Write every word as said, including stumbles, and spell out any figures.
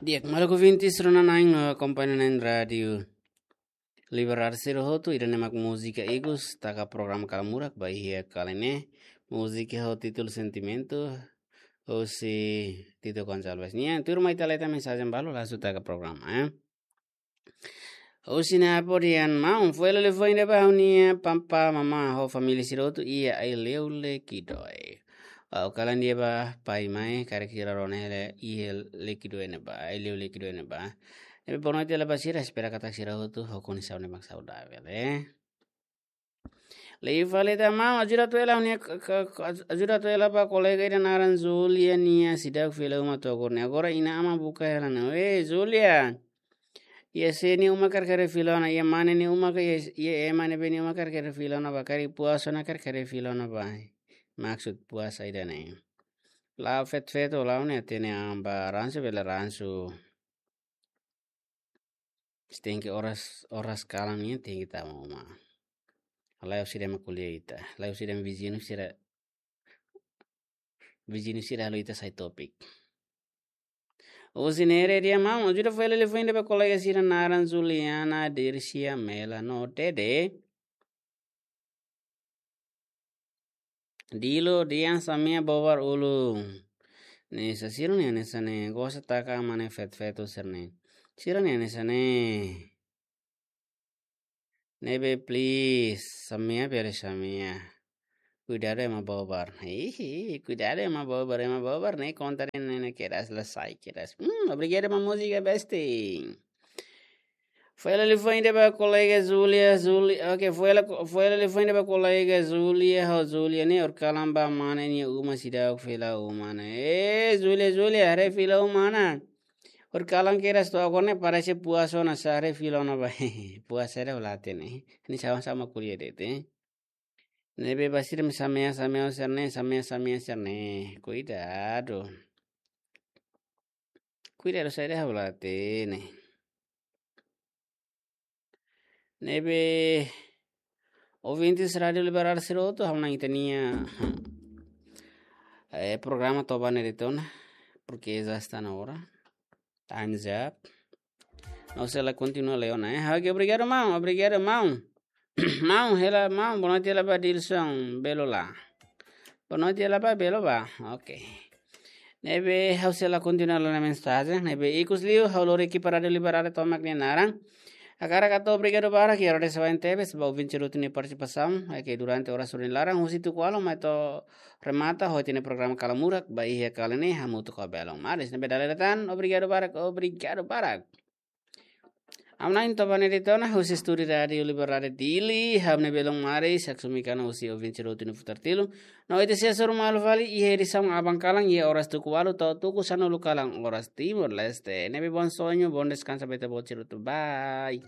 Di'ak, maluk ouvintes rona-na'in no akompaña na'in Rádiu Liberdade sira hotu, ida-ne'e mak múzika ikus taka programa Kala Murak ba iha kala ne'e. Múzika ho títulu Sentimentu, husi Tito Gonçalves nian. Tuirmai ita hetan mensajen balu, langsung taka programa, eh. Husi ne'e apodian maun, foin lele foin de'it ba ha'u-nia papá, mamá, ho família sira hotu iha Aileu Lekidoe. Ha'u kalan de'it ba pai mai, karik sira rona hela iha Lekidoe ne'ebá, Aileu Lekidoe ne'ebá. Ne'ebé boa noite hela ba sira, espera katak sira hotu ho kondisaun ne'ebé saudavel, eh. Liu fali ita maun, ajuda atu hela ha'u-nia k-, k-, k-, ajuda atu hela ba kolega ida naran Zulia nian, seidauk fila uma to'o agora ne'e. Agora inan-aman buka hela ne'e. Eh, Zulia. Iha sé nia uma karik haree fila ona, iha mane nia uma ka, iha, iha ema ne'ebé nia uma karik haree fila ona ba, karik puasa ona karik haree fila ona ba. Maksud puasa ida-ne'e. La'o feto-feto, la'o ne'e hatene an ba ransu bele ransu. Tenke oras, oras kalan nian tenke tama uma. La'o sira ema ko'alia ita. La'o sira ema viziñu sira, viziñu sira halo ita sai topik. Husi ne'e de'it maun, ajuda foin lele foin de'it ba kolega sira naran Juliana, Dircia, Mela no Dede. Dilo, Dian, Samia, Bobar, Ulu. Ne'e sá sira-nia hanesan ne'e, gosta taka mane feto-feto sira-ne'e. Sira-nia hanesan ne'e. Ne'ebé please, Samia, bele Samia. Kuidadu ema Bobar. Hihi, kuidadu ema Bobar, ema Bobar ne'e kontra ne'e, ne'e keras la sai keras. Hmm, obrigadu ba múzika besti. Foin lele foin de'it ba kolega Julia, Julia, oke, foin lele, foin lele foin de'it ba kolega Julia, ho Julia ne'e horikalan ba mane nia uma seidauk fila uma ne'e. Eh, Julia, Julia, haree fila uma ona. Horikalan keras to'o agora ne'e parese puasa ona sá haree fila ona ba. Puasa ida la hatene. Ne'e sama-sama ko'alia de'it, eh. Ne'ebé ba sira ema Samia, Samia sira-ne'e, Samia, Samia sira-ne'e. Kuidadu. Kuidadu saida ha'u la hatene. Ne'ebé ouvintes Rádiu Liberdade sira hotu, ha'u hanoin ita-nia, eh, programa to'o ba ne'e de'it ona, porque já está na hora. Time's up. Ha'u sei la kontinua lai ona, eh. Oke, obrigadu maun, obrigadu maun. Maun, hela maun, boa noite hela ba Dilson Belo la. Boa noite hela ba Belo ba. Oke. Ne'ebé ha'u sei la kontinua lai ona mensajen, ne'ebé ikus liu, ha'u lori ekipa Rádiu Liberdade tomak nia naran. Hakarak hato'o obrigadu barak iha rotesaun tebes ba ouvinte sira hotu nia partisipasaun, eh, ke durante oras rua nia laran, husi tuku ualu mai to'o remata, ho ita-nia programa Kala Murak, ba iha kala ne'e, hamutuk ho belun maris. Ne'ebé dala ida tan, obrigadu barak, obrigadu barak. Ha'u hanoin to'o ba ne'e de'it ona, husi estúdiu Rádiu Liberdade Dili, ha'u-nia belun maris, Saksumi Kana husi ouvinte sira hotu nia futar tilu. No ita sei hasoru malu fali, iha edisaun aban kalan, iha oras tuku ualu, to'o tuku sanulu kalan, oras Timor-Leste. Ne'ebé bom sonho, bom descanso, ba ita-boot sira hotu. Bye.